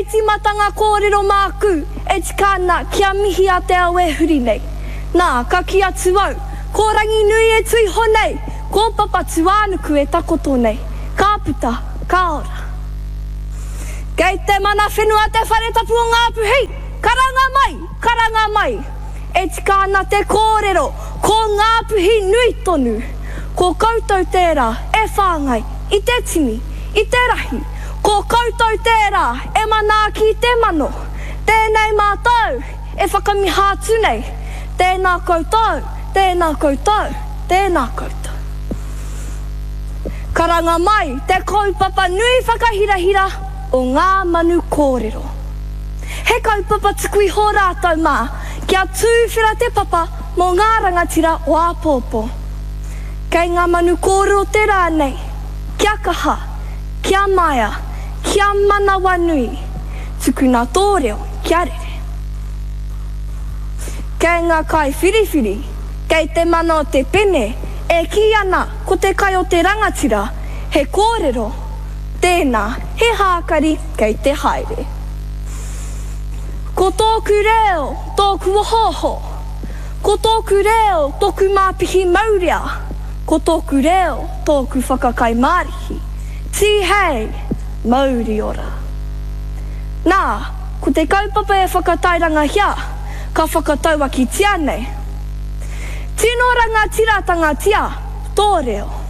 Hei tīmatanga kōrero māku, e tika ana kia mihi a te ao e huri nei. Nā, ka kī atu au, ko Ranginui e tuiho nei, ko Papatūānuku e takoto nei. Ka puta, ka ora. Kei te mana whenua te whare tapu o Ngāpuhi! Karanga mai! Karanga mai! E tika ana te kōrero, ko Ngāpuhi nui tonu! Ko koutou tērā e whāngai i te tini, i te rahi, ko koutou tērā e manaaki i te mano, tēnei mātou e whakamiha atu nei, tēnā koutou, tēnā koutou, tēnā koutou. Karanga mai te kaupapa nui whakahirahira o Ngā Manu Kōrero. He kaupapa tuku iho rātou mā kia tūwhera te papa mō ngā rangatira o āpōpō. Kei ngā manu kōrero te rā nei, kia kaha, kia maea, kia manawanui, tukuna tō reo kia rere. Kei ngā kaiwhiriwhiri, kei te mana o te pene e kī ana ko te kai o te rangatira, he kōrero, tēnā, he hākari kei te haere. Ko tōku reo, tōku ohooho. Ko tōku reo, tōku māpihi maurea. Ko tōku reo, tōku whakakai mārihi. Tīhei! Mauri ora! Nā, ko te kaupapa e whakatairangahia, ka whakatauakitia nei. Tino rangatiratanga tia tō reo.